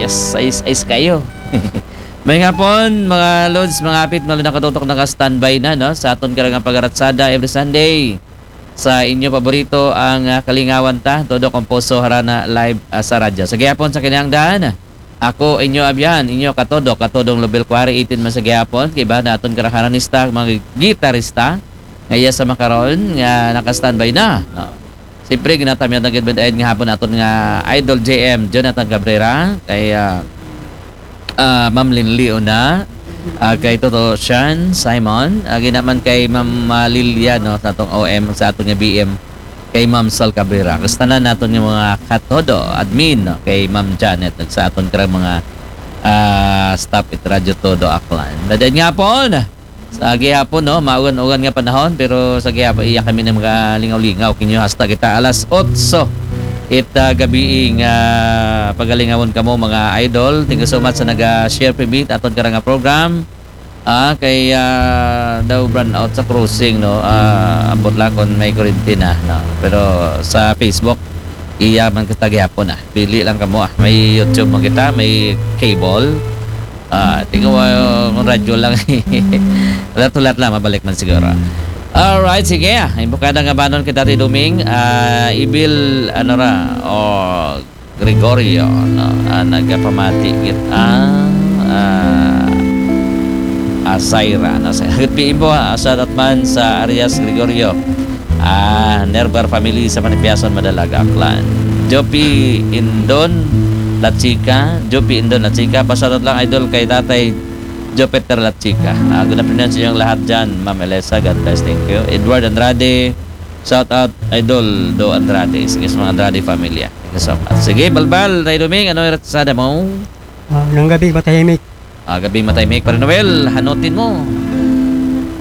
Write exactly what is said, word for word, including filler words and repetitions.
Sais-ais kayo. May hapon, mga lods, mga apit, mga nakatutok, naka-standby na, no? Sa aton karang pagaratsada every Sunday. Sa inyo paborito, ang, ah, kalingawan ta, todo komposo harana live, ah, sa radyo. Sa gihapon sa kinahanglan, ako, inyo abyan, inyo katodo, katodong Lobel Quarry, eighteen man sa gihapon, kay ba naton karang harmonista, mga gitarista, nga iya sa makaron, nga naka-standby na, no? Siyempre, ginatamyat na gid nga hapon naton nga idol J M, Jonathan Cabrera, kay, ah, ah, Ma'am Linley Una, ah, kay Toto Shan Simon, ah, ginaman kay Ma'am, ah, Lilia, no, sa atong O M, sa atong nga B M, kay Ma'am Sol Cabrera. Kag sa tanan naton nga mga katodo, admin, no, kay Ma'am Janet, ug sa aton karang mga, ah, staff it Radyo Todo Aklan. Dadain nga hapon, sa gihapon, no, maugan-ugan nga panahon, pero sa gihapon, iya kami na magalingaw-lingaw kinyo hasta kita alas otso. It, ah, gabi nga pagalingawon kamo, mga idol. Thank you so much sa naga-share, P B, aton karang nga program. Ah, kay, ah, daw brownout sa crossing, no? Ah, ambot lang kung may kuryente na, no? Pero sa Facebook, iya man kita gihapon, ah. Pili lang kamo, ah. May YouTube man kita, may cable. Ah, tingnan mo, ah, kung radyo lang. Hulat-hulat lang, mabalik man siguro. Alright, sige, ah. Imbukada nga banon kita, Ate Duming. Ah, Ibil, ano ra, o Gregorio, no? Ah, nagapamati gid ang, ah, Asaira, no? Sa Piimbo, ah, shout out man sa Arias Gregorio. Ah, Nerbar family sa Manipiason, Madalaga, Aklan. Jopi Indon Lachika, Jopi Indon Lachika, pa-shout out lang, idol, kay Tatay Jupiter Lachika. Ah, good afternoon sa inyong lahat dyan, Ma'am Elisa. God bless, thank you. Edward Andrade, shout out, Idol Do Andrade. Sige, sa mga Andrade family, ah. Thank you so much. Sige, Balbal, Tay Doming, ano yung ratsada mo? Ah, nang gabi, matahimik. Ah, gabi, matahimik. Pare Noel, hanutin mo.